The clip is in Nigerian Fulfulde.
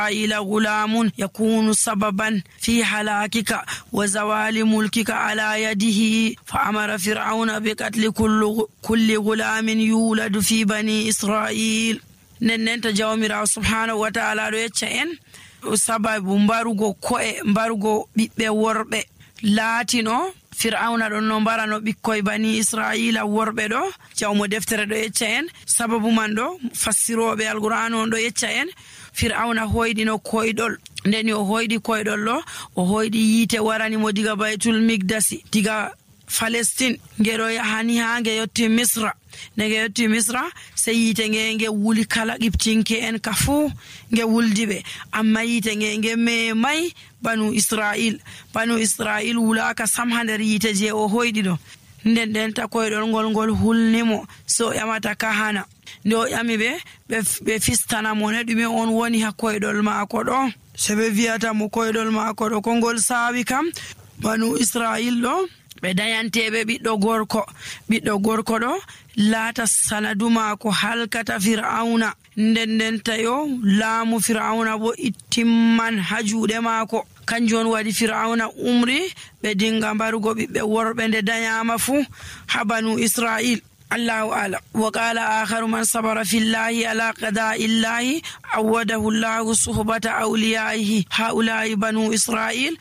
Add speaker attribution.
Speaker 1: إسرائيل غلام يكون سببا في هلاكك وزوال ملكك على يده فأمر فرعون بقتل كل غلام يولد في بني إسرائيل. نننت جوامير سبحانه وتعالى يتشأن sababu mbarugo ko'e mbarugo ɓiɓɓe worɓe laatino fir'auna ɗon no mbarano ɓikkoy bani israila worɓe ɗo. jawmo deftere ɗo yecca en sababu man ɗo fassiroɓe alqur'an on ɗo yecca en fir'auna hoyɗino koyɗol. ndeni o hoyɗi koyɗol ɗo o hoyɗi yiite waranimo diga baytul migdasi diga Palestine ngeɗo yahani ha nge yotti Misra. nge yotti Misra se yiite nge wuli kala qibtinke en ka fuu nge wuldi ɓe, amma yiite nge memay banu Israil wulaka sam ha nder yiite je o hoyɗi ɗo. nden ta koyɗol ngol hulnimo so o ƴamata kahana. nde o ƴami ɓe fistana mo ne ɗume on woni ha koyɗol maako ɗo. se ɓe wiyata mo koyɗol maako ɗo ko ngol saawi kam banu Israil ɗo ɓe dayanteɓe ɓiɗɗo gorko ɗo laata sanadu maako halkata fir'auna. nden tayo laamu fir'auna bo ittimman ha juuɗe maako. kanjum on waɗi fir'auna umri ɓe dinga mbarugo ɓiɓɓe worɓe nde dayama fuu ha banu Israil. Allahu a'lam. wa qala akharu man sabara fillahi ala qada'illahi awadahu Allahu suhbata awliyaihi haula'i banu Israil